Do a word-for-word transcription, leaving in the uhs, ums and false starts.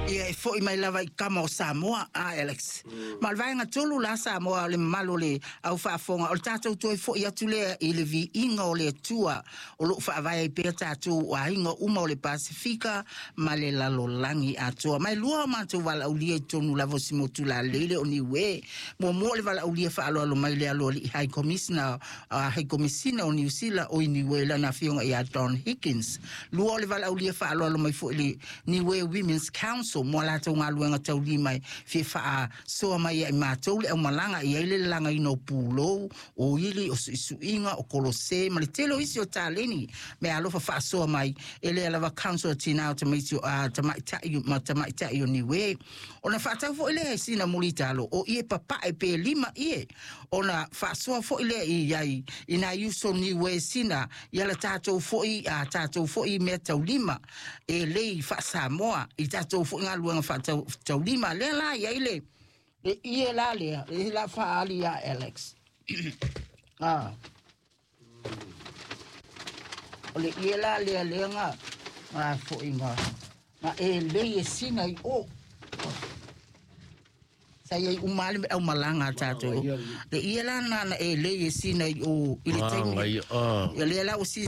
Ia e fo'i mai lava i kama o Samoa a Alex. Ma o le vaega tolu la Samoa o le mamalu o le au faafofoga o le tatou toe fo'i atu lea i le viiga o le Atua o loo faavae ai pea tatou aiga uma o le Pasefika ma le lalolagi atoa. Mai lua o matou valaaulia i totonu lava o si motu lalei o Niue. Muamua o le valaaulia faaaloalo mai le aloalii High Commissioner, uh, High Commissioner o Niu Sila o i Niue lana afioga ia Don Higgins. Lua o le valaaulia faaaloalo mai foi le Niue Women's Council mo latou galuega taulima e fia faasoa mai ai matou le aumalaga i ai le lalagaina o pulou o ili o suisuiga o kolose ma le tele o isi o taleni me alofa faasoa mai e lea lava council o tinā o tamaiti a tamaitai ma tamaitai o Niue. Ona faatau foi lea e sina mulitalo o ie papae pe lima ie ona faasoa foi lea i ai i nai uso Niue sina ia la tatou foi a tatou foi mea taulima e lei faasamoa i tatou foi galuega faataulima lea la i ai le le ie la lea le la faaali ia Alex. Ah. O le ie la lea lea nga nga foi nga nga e lei e sina i o. Sa iai uma le au malanga tatou. Le ie la na na e lei e sina i o i le taimi. Ah, Ia lea la o si